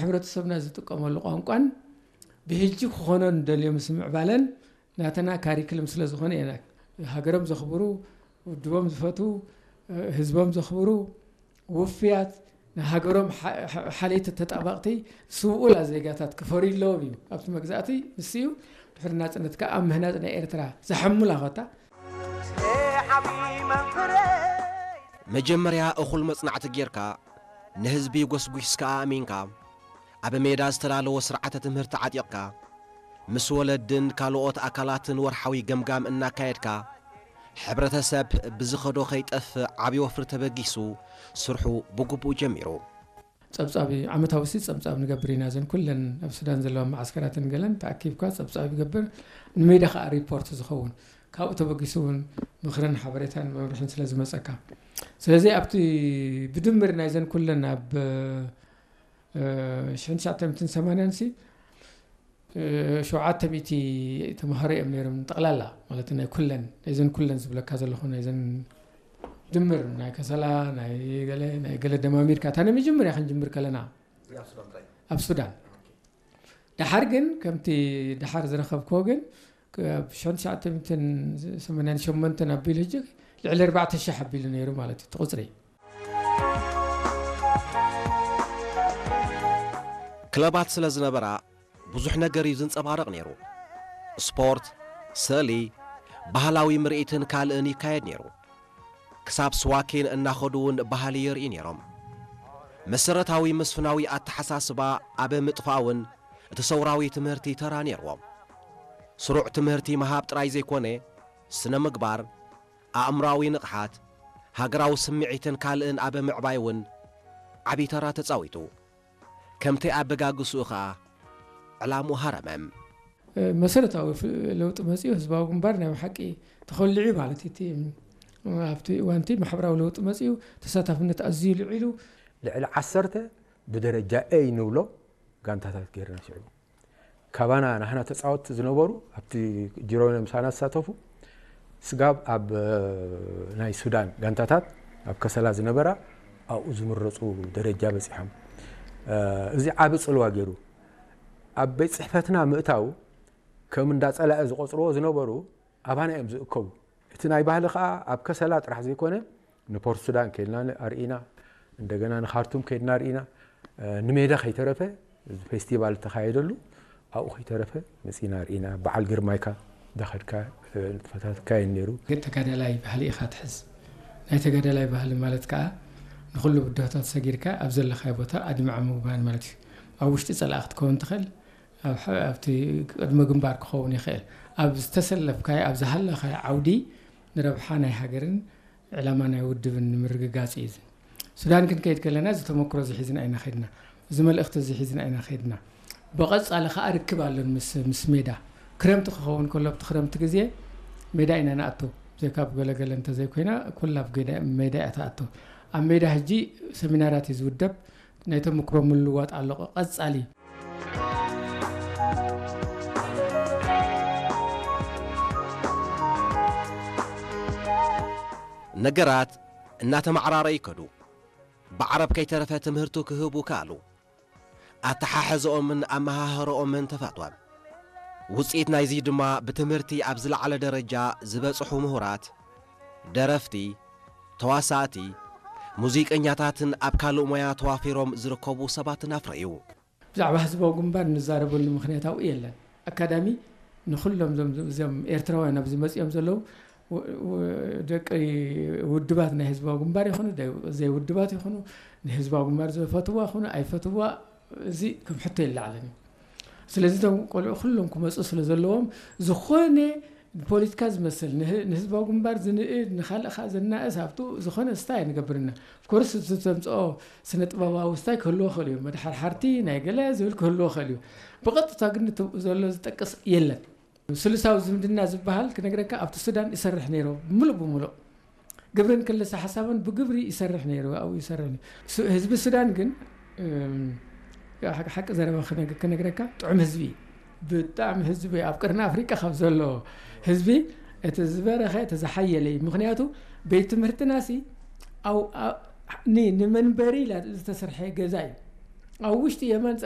ሕብረተሰብና ዝጥቀመሉ ቋንቋን ብሕጂ ክኾኖ ንደልዮ ምስ ምዕባለን ናተና ካሪክልም ስለ ዝኾነ ኢና። ሃገሮም ዘኽብሩ፣ ውድቦም ዝፈትዉ፣ ህዝቦም ዘኽብሩ፣ ውፍያት፣ ንሃገሮም ሓ- ሓ- ሓለይቲ ተጣባቕቲ ስውኡላ ዜጋታት ክፈርዩ ኣለዎም እዩ። ኣብቲ መግዛእቲ ንሱ እዩ። ድሕሪ ናጽነት ከኣ ኣብ ምህናጽ ናይ ኤርትራ ዝሓሙላ ኾታ መጀመርያ እኹል መጽናዕቲ ጌርካ፣ ንህዝቢ ጎስጒስካ ኣእሚንካ፣ ኣብ ሜዳ ዝተዳለወ ስርዓተ ትምህርቲ ዓጢቕካ፣ ምስ ወለድን ካልኦት ኣካላትን ወርሓዊ ገምጋም እናካየድካ፣ ሕብረተሰብ ብዝኸዶ ከይጠፍእ ዓቢ ወፍሪ ተበጊሱ ስርሑ ብግቡእ ጀሚሩ። ጸብጻብ ዓመታዊ ሲ ጸብጻብ ንገብር ኢና። ዘን ኩለን ኣብ ሱዳን ዘለዋ መዓስከራትን ገለን ተኣኪብካ ጸብጻብ ይገብር። ንሜዳ ከዓ ሪፖርት ዝኸውን ካብኡ ተበጊሱ እውን ምኽርን ሓበሬታን መምርሕን ስለ ዝመጸካ፣ ስለዚ ኣብቲ ብድምር ናይዘን ኩለን ኣብ ሽሕን ትሽዓተ ሚእትን ሰማንያን ሲ ሸውዓተ ሚእቲ ተምሃሮ እዮም ነይሮም ጠቕላላ፣ ማለት ናይ ኩለን ናይዘን ኩለን ዝብለካ ዘለኹ ናይዘን ድምር ናይ ከሰላ ናይ ገለ ናይ ገለ ደማሚርካ እታ ናይ መጀመርያ ክንጅምር ከለና ኣብ ሱዳን። ደሓር ግን ከምቲ ደሓር ዝረኸብክዎ ግን ኣብ ሽሕን ትሽዓተ ሚእትን ሰማንያን ሸሞንተን ኣቢሉ ሕጂ ልዕሊ ኣርባዕተ ሽሕ ኣቢሉ ነይሩ ማለት እዩ እቲ ቁፅሪ። ክለባት ስለ ዝነበራ ብዙሕ ነገር እዩ ዝንጸባረቕ ነይሩ። ስፖርት፣ ስእሊ፣ ባህላዊ ምርኢትን ካልእን ይካየድ ነይሩ። ክሳብ ስዋኪን እናኸዱ እውን ባህሊ የርእዩ ነይሮም። መሰረታዊ መስፍናዊ ኣተሓሳስባ ኣብ ምጥፋእ እውን እቲ ሰውራዊ ትምህርቲ ተራ ነይርዎ። ስሩዕ ትምህርቲ ምሃብ ጥራይ ዘይኮነ፣ ስነ ምግባር፣ ኣእምሮኣዊ ንቕሓት፣ ሃገራዊ ስምዒትን ካልእን ኣብ ምዕባይ እውን ዓቢ ተራ ተጻዊቱ። ከምቲ ኣበጋግስኡ ኸኣ ዕላምኡ ሃረመ። መሰረታዊ ለውጢ መጺኡ ህዝባዊ ግንባር ናይ ብሓቂ ተኾሊዑ ማለት እቲ ኣብቲ እዋንቲ ማሕበራዊ ለውጢ መጺኡ ተሳታፍነት ኣዝዩ ልዒሉ። ልዕሊ ዓሰርተ ብደረጃ ኤ ንብሎ ጋንታታት ገይርና ሽዑ ካባና ናህና ተፃወትቲ ዝነበሩ ኣብቲ ጅሮነ ምሳና ዝሳተፉ ስጋብ ኣብ ናይ ሱዳን ጋንታታት ኣብ ከሰላ ዝነበራ ኣብኡ ዝምረፁ ደረጃ በፂሖም። እዚ ዓቢ ፅልዋ ገይሩ ኣብ ቤት ፅሕፈትና ምእታው ከም እንዳ ፀላኢ ዝቆፅርዎ ዝነበሩ ኣባና እዮም ዝእከቡ። እቲ ናይ ባህሊ ከዓ ኣብ ከሰላ ጥራሕ ዘይኮነ ንፖርት ሱዳን ከይድና ኣርኢና፣ እንደገና ንካርቱም ከይድና ኣርኢና፣ ንሜዳ ከይተረፈ ፌስቲቫል እተኻየደሉ ኣብኡ ከይተረፈ መፂና ኣርኢና። በዓል ግርማይካ እንዳኸድካ ንጥፈታት ይካየድ ነይሩ። ተጋዳላይ ባህሊ ኢኻ ትሕዝ። ናይ ተጋዳላይ ባህሊ ማለት ከዓ ንኩሉ ብድሆታት ሰጊርካ ኣብ ዘለኻዮ ቦታ ኣድማዒ ምግባር ማለት እዩ። ኣብ ውሽጢ ፀላኢ ክትከውን ትኽእል፣ ኣብቲ ቅድመ ግንባር ክኸውን ይኽእል። ኣብ ዝተሰለፍካዮ ኣብ ዝሃለኻዮ ዓውዲ ንረብሓ ናይ ሃገርን ዕላማ ናይ ውድብን ንምርግጋፅ እዩ። ሱዳን ክንከይድ ከለና እዚ ተመክሮ እዚ ሒዝና ኢና ከይድና፣ እዚ መልእኽቲ እዚ ሒዝና ኢና ከይድና። ብቐፃሊ ከዓ ርክብ ኣለን ምስ ምስ ሜዳ። ክረምቲ ክኸውን ከሎ ኣብቲ ክረምቲ ግዜ ሜዳ ኢና ንኣቱ። ብዘይካ ኣብ ገለገለ እንተዘይኮይና ኩላ ኣብ ሜዳ እያ ትኣቱ። ኣብ ሜዳ ሕጂ ሰሚናራት እዩ ዝውደብ። ናይ ተመክሮ ምልውዋጥ ኣሎ ቀፃሊ። ነገራት እናተማዕራረ ይከዱ። ብዓረብ ከይተረፈ ትምህርቱ ክህቡ ከኣሉ። ኣተሓሕዘኦምን ኣመሃህረኦምን ተፋትወ። ውፅኢት ናይዚ ድማ ብትምህርቲ ኣብ ዝለዓለ ደረጃ ዝበፅሑ ምሁራት፣ ደረፍቲ፣ ተዋሳእቲ፣ ሙዚቀኛታትን ኣብ ካልእ ሞያ ተዋፊሮም ዝርከቡ ሰባትን ኣፍረዩ። ብዛዕባ ህዝባዊ ግንባር እንዛረበሉ ምኽንያት ኣብኡ የለን። ኣካዳሚ ንኹሎም እዞም እዞም ኤርትራውያን ኣብዚ መጺኦም ዘለዉ ደቂ ውድባት ናይ ህዝባዊ ግንባር ይኹኑ ዘይውድባት ይኹኑ ንህዝባዊ ግንባር ዝፈትዋ ይኹኑ ኣይፈትዋ እዚ ከም ሕቶ የለዓለን እዩ። ስለዚ እቶም ቆልዑ ኩሎም ክመፁ ስለ ዘለዎም ዝኾነ ንፖለቲካ ዝመስል ንህዝባዊ ግንባር ዝንእድ ንካልእ ከዓ ዘናእስ ኣብቱ ዝኾነ ስታይ ንገብርና ኮርስ ዝተምፅኦ ስነ ጥበባዊ ስታይ ክህልዎ ክእል እዩ። መድሓርሓርቲ ናይ ገለ ዝብል ክህልዎ ክእል እዩ። ብቐጥታ ግን ንትብኡ ዘሎ ዝጠቅስ የለን። ስሉሳዊ ዝምድና ዝበሃል ክነግረካ ኣብቲ ሱዳን ይሰርሕ ነይሩ ምሉእ ብምሉእ ግብርን ክልሰ ሓሳብን ብግብሪ ይሰርሕ ነይሩ ኣብኡ ይሰርሕ ነይሩ። ህዝቢ ሱዳን ግን ሓቂ ዘረባ ክነግረካ ጥዑም ህዝቢ እዩ። ብጣዕሚ ህዝቢ ኣብ ቅርኒ ኣፍሪቃ ካብ ዘሎ ህዝቢ እቲ ዝበረኸ እቲ ዝሓየለ እዩ። ምክንያቱ ቤት ትምህርትና ሲ ንመንበሪ ኢላ ዝተሰርሐ ገዛ እዩ። ኣብ ውሽጢ የማን